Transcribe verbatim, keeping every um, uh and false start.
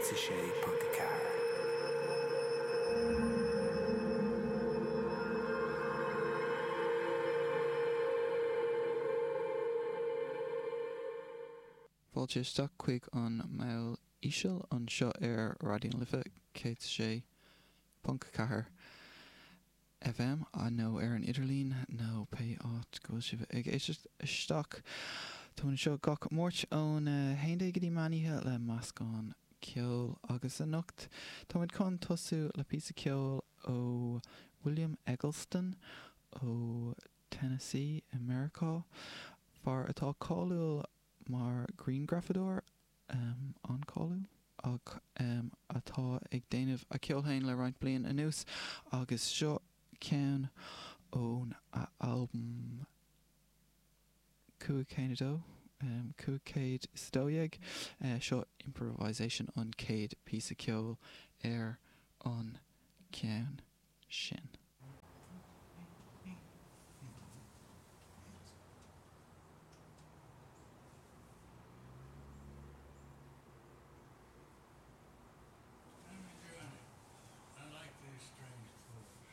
céad a sé ponc a ceathair. Fáilte isteach chuig an Meall Íseal anseo ar Raidió na Life céad a sé ponc ceathair FM nó ar an idirlíon nó pé áit go bhfuil sibh ag éisteacht isteach. Tá anseo gach Máirt ón haon déag go dtí meán oíche le meascán ceoil agus anocht táimid chun tosú le píosa ceoil ó William Eggleston ó Tennessee i Meiriceá, fear atá cáiliúil mar ghrianghrafadóir um, an-cháiliúil ach um, atá ag déanamh a cheol féin le roinnt bliain anuas agus seo ceann ón a albam cúig chéad a dó um, cúig chéad is a dó dhéag uh, seo improvisation an chéad píosa ceoil ar an ceann sin.